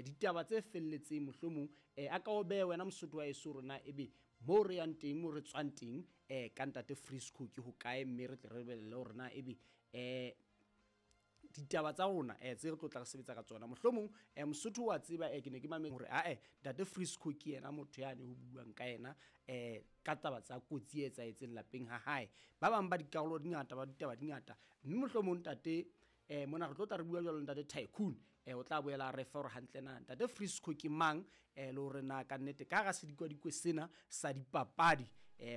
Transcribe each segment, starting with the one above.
Ditaba tse felletseng mohlomong a ka o behe wena Mosotho wa heso hore na ebe moo re yang teng, moo re tswang teng ka ntate Frisco ke hokae, mme re tle re lebelele hore na ebe ditaba tsa rona tse re tlo tla re sebetsa ka tsona. Mohlomong Mosotho wa tseba, ke ne ke mametse hore ae ntate Frisco ke yena motho yane ho buang ka yena ka taba tsa kotsi e etsahetseng lapeng ha hae. Ba bang ba dikarolo di ngata, ba ditaba di ngata, mme mohlomong ntate mona re tlo tla re bua jwalo ntate Tycoon o tla boela a re fa hore hantle na ntate Frisco ke mang, le hore na ka nnete ka hara sedikwadikwe sena sa dipapadi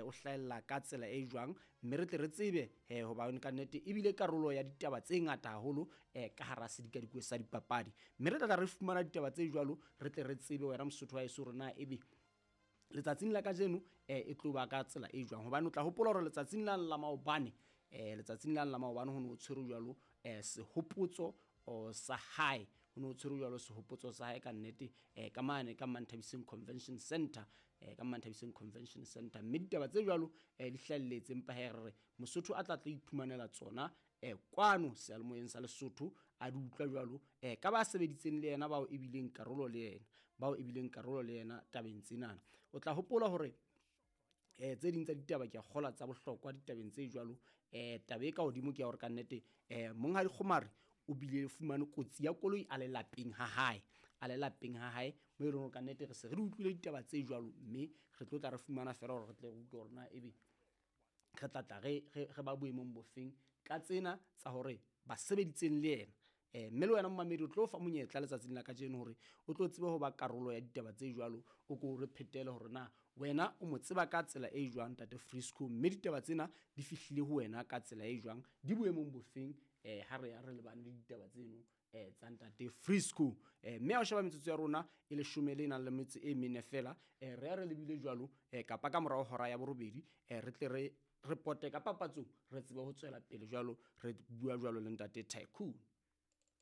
o hlahella ka tsela e jwang, mme re tle re tsebe hobane ka nnete ebile karolo ya ditaba tse ngata haholo ka hara sedikadikwe sa dipapadi, mme re tla tla re fumana ditaba tse jwalo, re tle re tsebe wena Mosotho wa heso hore na ebe letsatsing la kajeno e tlo ba ka tsela e jwang. Hobane o tla hopola hore letsatsing la la maobane, letsatsing la la maobane ho ne ho tshwerwe jwalo sehopotso sa hae, ho ne ho tshwerwe jwalo sehopotso sa hae ka nnete ka mane ka Manthabiseng Convention Center, ka Manthabiseng Convention Center, mme ditaba tse jwalo di hlahelletse, empa he re re Mosotho a tla tla iphumanela tsona kwano seyalemoyeng sa Lesotho, a di utlwa jwalo ka ba sebeditseng le yena, bao ebileng karolo le yena, bao ebileng karolo le yena tabeng tsenana. O tla hopola hore tse ding tsa ditaba ke a kgola tsa bohlokwa ditabeng tse jwalo. Taba e ka hodimo ke ya hore ka nnete Monghadi Kgomari o bile fumane kotsi ya koloi a le lapeng ha hae, a le lapeng ha hae, mo e leng hore ka nnete re se re di utlwile ditaba tse jwalo, mme re tlo tla re fumana feela hore re tle re utlwe hore na ebe re tla tla re ba boemong bofeng ka tsena tsa hore ba sebeditseng le yena. Mme le wena momamedi o tlo fa monyetla letsatsing la kajeno hore o tlo tsebe ho ba karolo ya ditaba tse jwalo, o ko re phetele hore na wena o mo tseba ka tsela e jwang ntate Frisco, mme ditaba tsena di fihlile ho wena ka tsela e jwang, di boemong bofeng ha re ya re lebane le ditaba tseno tsa ntate Frisco. Mme ha o sheba metsotso ya rona e leshome le nang le metso e mene fela, re ya re lebile jwalo kapa ka morao hora ya borobedi, re tle re repote ka papatsong, re tsebe ho tswela pele jwalo, re bua jwalo le ntate Tycoon.